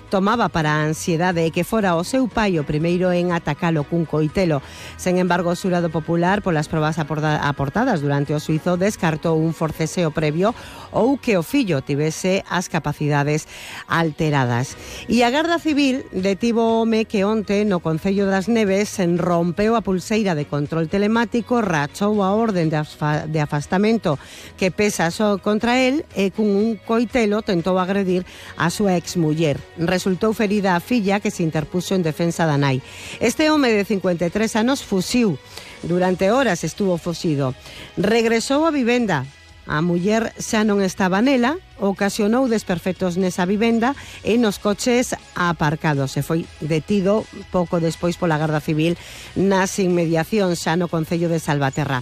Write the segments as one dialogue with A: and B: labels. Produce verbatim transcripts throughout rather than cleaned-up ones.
A: tomaba para a ansiedade e que fora o seu pai o primeiro en atacalo cun coitelo. Sen embargo, o xurado popular, polas probas aportadas durante o xuízo, descartou un forceseo previo ou que o fillo tivese as capacidades alteradas. E a Garda Civil detivo o home que onte no Concello das Neves rompeu a pulseira de control telemático, rachou a orden de, de afastamento que pesa só contra el e cun un coitelo tentou agredir a súa exmuller. Resultou ferida a filla que se interpuxo en defensa da nai. Este home de cincuenta e tres anos fuxiu. Durante horas estuvo fuxido. Regresou á vivenda. A muller xa non estaba nela, ocasionou desperfectos nesa vivenda e nos coches aparcados. Se foi detido pouco despois pola Garda Civil nas inmediacións xa no Concello de Salvaterra.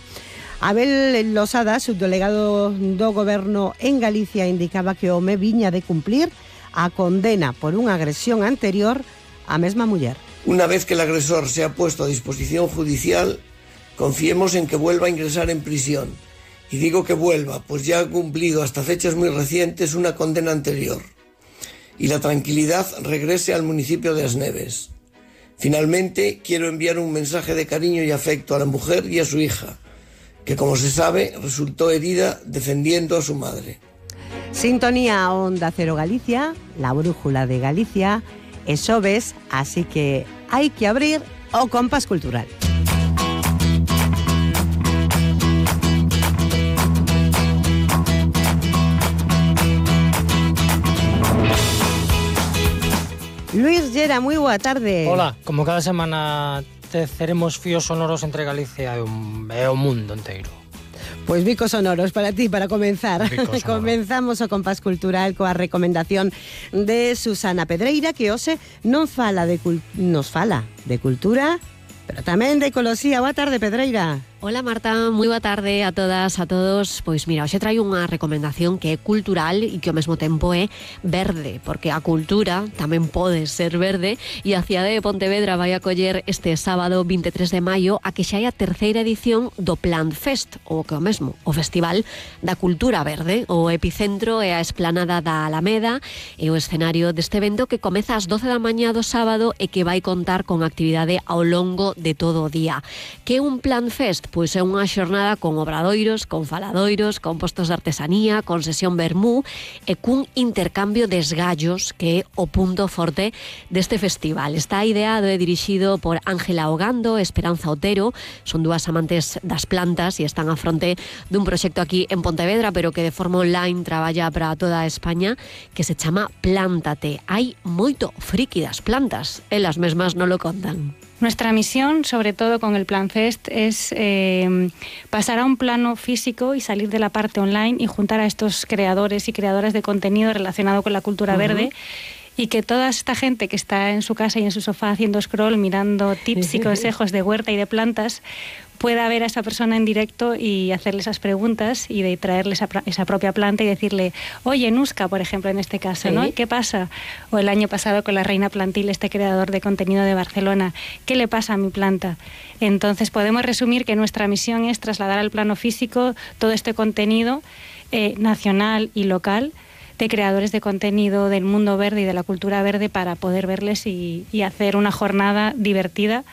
A: Abel Losada, subdelegado do Goberno en Galicia, indicaba que o home viña de cumplir a condena por unha agresión anterior á mesma muller.
B: Una vez que el agresor se ha puesto a disposición judicial, confiemos en que vuelva a ingresar en prisión. Y digo que vuelva, pues ya ha cumplido hasta fechas muy recientes una condena anterior. Y la tranquilidad regrese al municipio de As Neves. Finalmente, quiero enviar un mensaje de cariño y afecto a la mujer y a su hija, que, como se sabe, resultó herida defendiendo a su madre.
A: Sintonía Onda Cero Galicia, la brújula de Galicia, es xoves, así que hai que abrir o compás cultural. Luis Llera, moi boa tarde.
C: Hola, como cada semana teceremos fíos sonoros entre Galicia e o, e o mundo inteiro.
A: Pois bicos sonoros para ti, para comenzar. Comenzamos o compás cultural coa recomendación de Susana Pedreira, que hoxe non fala de nos fala de cultura, pero tamén de ecoloxía. Boa tarde, Pedreira.
D: Hola Marta, moi boa tarde a todas, a todos. Pois mira, hoxe traio unha recomendación que é cultural e que ao mesmo tempo é verde, porque a cultura tamén pode ser verde, e a cidade de Pontevedra vai acoller este sábado vinte e tres de maio a que xa hai a terceira edición do Plant Fest, ou que o mesmo, o Festival da Cultura Verde. O epicentro é a esplanada da Alameda e o escenario deste evento que comeza ás doce da mañá do sábado e que vai contar con actividade ao longo de todo o día. Que é un Plant Fest? Pois é unha xornada con obradoiros, con faladoiros, con postos de artesanía, con sesión vermú e cun intercambio de esgallos que é o punto forte deste festival. Está ideado e dirixido por Ángela Ogando e Esperanza Otero. Son dúas amantes das plantas e están a fronte dun proxecto aquí en Pontevedra, pero que de forma online traballa para toda España, que se chama Plántate. Hai moito friki das plantas, elas mesmas non lo contan.
E: Nuestra misión, sobre todo con el Plan Fest, es eh, pasar a un plano físico y salir de la parte online y juntar a estos creadores y creadoras de contenido relacionado con la cultura uh-huh. verde, y que toda esta gente que está en su casa y en su sofá haciendo scroll, mirando tips y consejos de huerta y de plantas, pueda ver a esa persona en directo y hacerle esas preguntas y de traerle esa, esa propia planta y decirle, oye, Nuska, por ejemplo, en este caso, ¿no? ¿Qué pasa? O el año pasado con la Reina Plantil, este creador de contenido de Barcelona, ¿qué le pasa a mi planta? Entonces podemos resumir que nuestra misión es trasladar al plano físico todo este contenido eh, nacional y local de creadores de contenido del mundo verde y de la cultura verde para poder verles y, y hacer una jornada divertida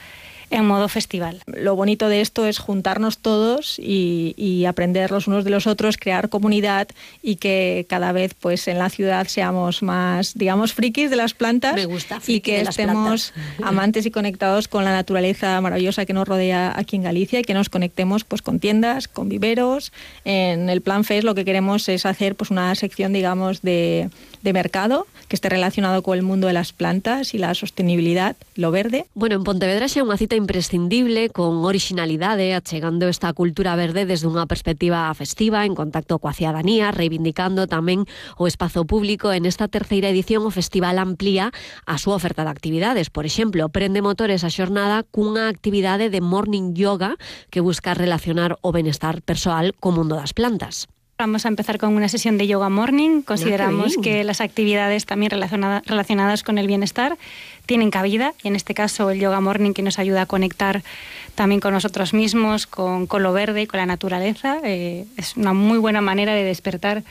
E: en modo festival.
F: Lo bonito de esto es juntarnos todos y, y aprender los unos de los otros, crear comunidad y que cada vez pues en la ciudad seamos más, digamos, frikis de las plantas.
D: Me gusta, friki
F: y que
D: de las
F: estemos
D: plantas.
F: Amantes y conectados con la naturaleza maravillosa que nos rodea aquí en Galicia y que nos conectemos pues con tiendas, con viveros. En el Plan Fest lo que queremos es hacer pues una sección, digamos, de, de mercado que esté relacionado con el mundo de las plantas y la sostenibilidad, lo verde.
D: Bueno, en Pontevedra xa é unha cita imprescindible, con originalidade, achegando esta cultura verde desde unha perspectiva festiva, en contacto coa cidadanía, reivindicando tamén o espazo público. En esta terceira edición o festival amplía a súa oferta de actividades. Por exemplo, prende motores a xornada cunha actividade de morning yoga que busca relacionar o benestar persoal co mundo das plantas.
E: Vamos a empezar con una sesión de yoga morning. Consideramos
D: Ah,
E: que las actividades también relacionada, relacionadas con el bienestar tienen cabida, y en este caso el yoga morning, que nos ayuda a conectar también con nosotros mismos, con, con lo verde y con la naturaleza. Eh, es una muy buena manera de despertar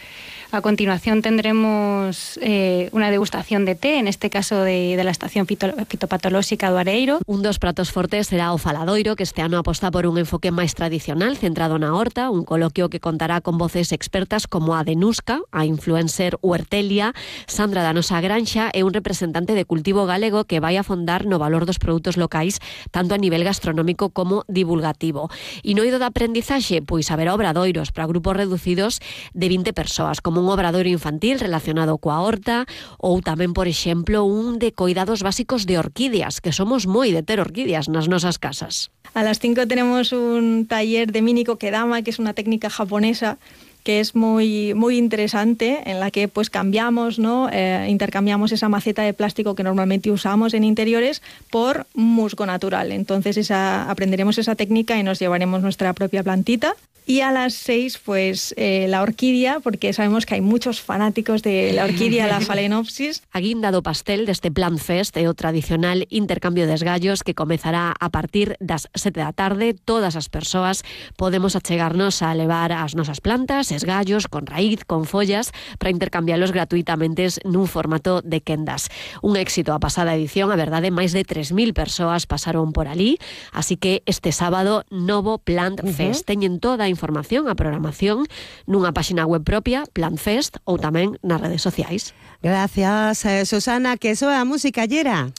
E: A continuación tendremos eh, una degustación de té, en este caso de, de la Estación Fito, Fitopatolóxica do Areiro.
D: Un dos pratos fortes será o faladoiro, que este ano aposta por un enfoque máis tradicional, centrado na horta, un coloquio que contará con voces expertas como a de Nusca, a influencer Huertelia, Sandra da Nosa Granxa e un representante de cultivo galego que vai a fondar no valor dos produtos locais, tanto a nivel gastronómico como divulgativo. E no ido da aprendizaxe, pois haberá obradoiros para grupos reducidos de vinte persoas, como un obradoiro infantil relacionado coa horta ou tamén, por exemplo, un de coidados básicos de orquídeas, que somos moi de ter orquídeas nas nosas casas.
F: A las cinco tenemos un taller de mini kokedama, que es una técnica japonesa que es muy, muy interesante, en la que pues cambiamos, ¿no? Eh, intercambiamos esa maceta de plástico que normalmente usamos en interiores por musgo natural. Entonces esa, aprenderemos esa técnica y nos llevaremos nuestra propia plantita. Y a las seis, pues eh, la orquídea, porque sabemos que hay muchos fanáticos de la orquídea, la Phalaenopsis.
D: A guinda do pastel deste Plant Fest é o tradicional intercambio de esgallos que comezará a partir das sete da tarde. Todas as persoas podemos achegarnos a levar as nosas plantas, esgallos, con raíz, con follas, para intercambialos gratuitamente nun formato de quendas. Un éxito a pasada edición, a verdade, máis de tres mil persoas pasaron por ali, así que este sábado novo Plant Fest. Uh-huh. Teñen toda a información, a programación, nunha páxina web propia, Plant Fest, ou tamén nas redes sociais.
A: Gracias, eh, Susana, que soa a música llera.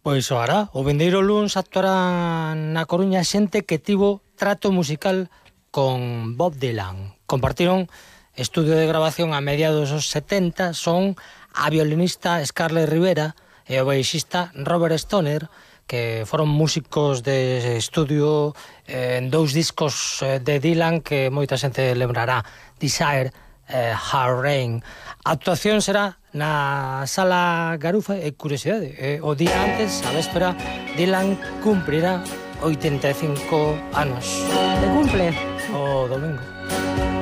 C: Pois soará. O vindeiro luns actuará na Coruña xente que tivo trato musical con Bob Dylan. Compartiron estudio de grabación a mediados dos setenta, son a violinista Scarlett Rivera e o baixista Robert Stoner, que foron músicos de estudio en dous discos de Dylan que moita xente lembrará, Desire, eh, Hard Rain. A actuación será na Sala Garufa e curiosidade, eh, o día antes, a véspera, Dylan cumprirá oitenta e cinco anos.
A: De cumple?
C: O domingo.